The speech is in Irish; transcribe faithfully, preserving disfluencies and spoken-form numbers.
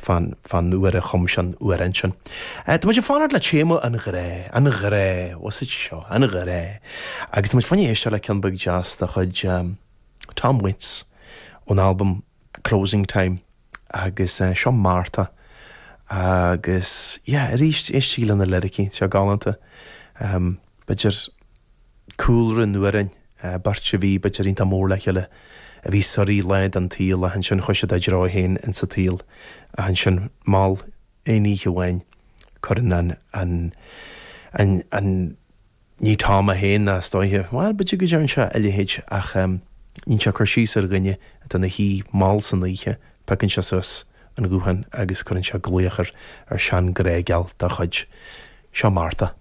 fán fán uair a chum sé an amhrán sin. Tá muid ag fanacht le téama an ghrá, an ghrá, what's it seo, an ghrá. Agus tá muid fá choinne éisteacht le ceann beag deas de chuid um, Tom Waits ón album Closing Time agus uh, seo Martha agus yeah, arís éistigí le na liricí seo galánta um, b'fhéidir cúlra an amhráin uh, beirt a bhí b'fhéidir iontach mór le chéile a bhí suirí lá den tsaol ach ansin chuaigh siad a dtreo féin in sa tsaol ach ansin mall aon oíche amháin cuireann an an an an ní Tom é féin is dóiche well b'fhéidir go dtearn sé a leithéid ach um, ní sé cur síos ar dhuine atá ina shuí mall san oíche piocann sé suas an guthán agus cuireann sé glaoch ar ar seanghrá geal dá chuid seo Martha.